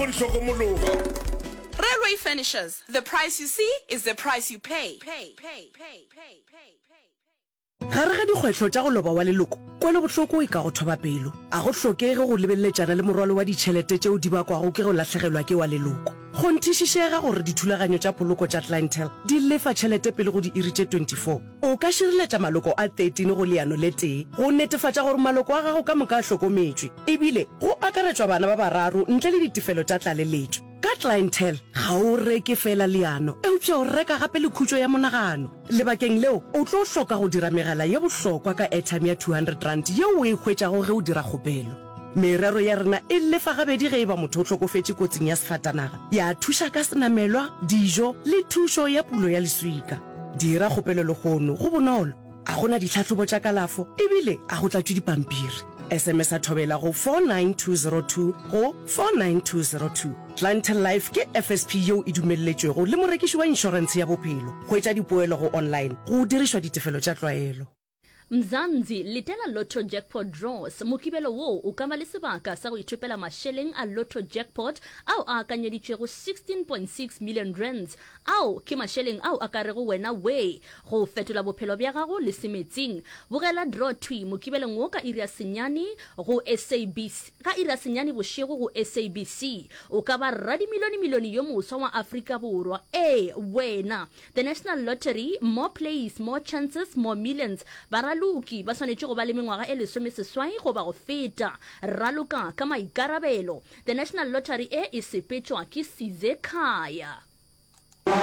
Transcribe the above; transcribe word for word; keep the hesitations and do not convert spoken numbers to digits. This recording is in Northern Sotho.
Go di hlokomologa. Railway Furnishers, the price you see is the price you pay. Pay, pay, pay, pay, pay, pay. Gare ga dikgwetlho tša go loba wa leloko, kwelobohloko e ka go thoba pelo. A go hlokege go lebeleletšana le morwalo wa ditšhelete tšeo di bakwago ke go lahlegelwa ke wa leloko. Kgonthišišega gore dithulaganyo tša poloko tša Clientele di lefa tšhelete pele go diiri tše twenty four. O ka šireletša maloko a thirteen go leano le tee go netefatša gore maloko a gago ka moka a hlokometšwe, ebile go akaretšwa bana ba bararo ntle le ditefelo tša tlaleletšo. Ka Clientele, ga o reke feela leano, eupša o reka gape le khutšo ya monagano. Lebakeng leo, o tlo hloka go dira megala ye bohlokwa ka airtime ya two hundred rand yeo o e hwetšago ge o dira kgopelo. Merero ya rena e lefa gabedi ge e ba motho o hlokofetše kotsing ya sefatanaga, ya thuša ka senamelwa, dijo le thušo ya pulo ya leswika. Dira kgopelo lehono, go bonolo, a go na ditlhahlobo tša kalafo ebile a go tlatšwe dipampiri. S M S a Thobela go four nine two zero two go four nine two zero two. Clientele Life ke F S P yeo e dumelletšwego le morekiši wa inšorentshe ya bophelo. Hwetša dipoelo go online go dirišwa ditefelo tša tlwaelo. Mzansi, letela Lotto Jackpot Draws. Mokibelo wo o ka ba le sebaka sa go ithopela mašeleng a Lotto Jackpot ao a akanyeditšwego sixteen point six million rands. Ao ke mašeleng ao a ka rego wena wee go fetola bophelo bja gago le semetsing. Bogela draw thwi Mokibelong wo ka iri ya senyane go S A B C, ka iri ya senyane bošego go S A B C. O ka ba radimilionemilione yo moswa wa Afrika Borwa. Ee, wena! The National Lottery, More Plays, More Chances, More Millions. Baraloki ba swanetše go ba le mengwaga e lesomeseswai goba go feta. Raloka ka maikarabelo. The National Lottery e e sepetšwa ke Sizekhaya.